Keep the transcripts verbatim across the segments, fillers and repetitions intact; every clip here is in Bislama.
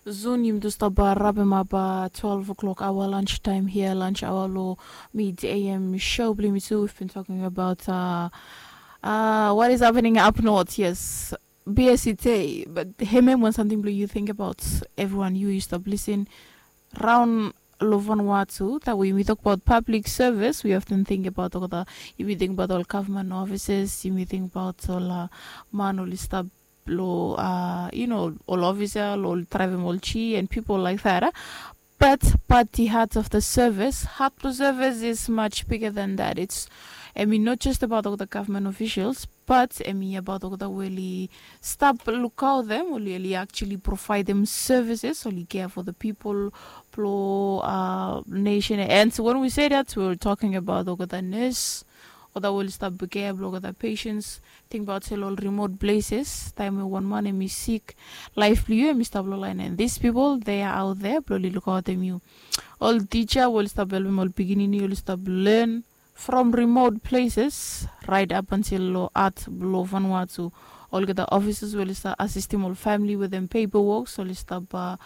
Sun yumi tu stap rapem ap twelve o'clock aoa lunch taem hia, lunch aoa long Mid A M show blong yumi tu. We've been talking about uh, uh, what is happening up north, yes, B S E T, but hemem wan samting blong yu think about, everyone yu yu stap lisin raon long Vanuatu, that we yumi tok about public service, we often think about olgeta, yumi think about ol government offices, yumi think about ol uh, man oli stap lo uh, you know, ol officer lo ol drivem ol chi and people like that uh. But but the heart of the service, heart of service is much bigger than that. It's, I mean, not just about all the government officials, but I mean about all the weli stap lukaotem, oli oli actually provide them services, oli care for the people, plo uh, nation. And so when we say that, we're talking about all the nurse, olgeta we oli stap bikea blong olgeta patients. Tingbaot se long ol remote places, taem we wan man hemi sik, laef blong yu hemi stap long laen, and these people they are out there blong oli lukaotem yu. Ol tija we oli stap helpem ol pikinini oli stap learn from remote places, right up until long art blong Vanuatu. Olgeta offices we oli stap asistem ol famili wetem paperworks, oli stap uh,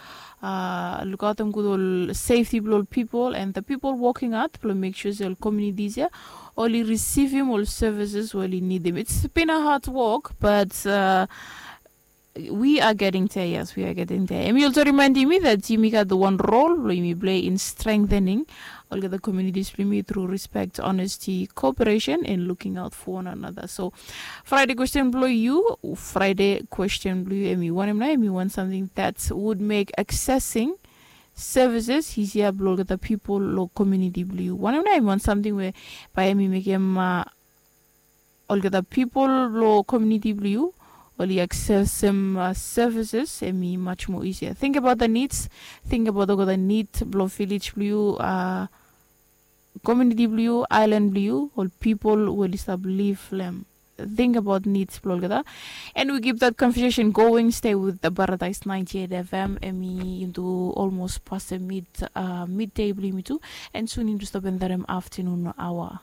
uh, lukaotem gud ol safety blong ol people, and the people working hard blong make sure se ol communities ia oli risivim ol services we oli nidim. It's been a hard work, but uh, we are getting there. Yes, we are getting there. And yumi also reminding me that yumi gat wan role blong yumi play in strengthening olgeta communities blong yumi through respect, honesty, cooperation, and looking out for one another. So Friday question blong yu, Friday question blong yu, hemi wanem nao? Hemi wan samting that would make accessing services easier blong olgeta people lo community blong yu. Wanem nao? Hemi wan samting we bae hemi mekem uh, olgeta people lo community blong yu oli accessem uh, services, hemi much more easier. Think about the needs, think about olgeta need blong village blong yu, uh, community blong yu, island blong yu, ol people we oli stap live long hem. Think about needs blong olgeta. And we keep that conversation going. Stay with the Paradise ninety-eight F M. Hemi into almost past the mid uh, midday blong yumi tu. And soon into stop and that afternoon hour.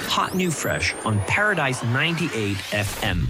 Hot new fresh on Paradise ninety-eight F M.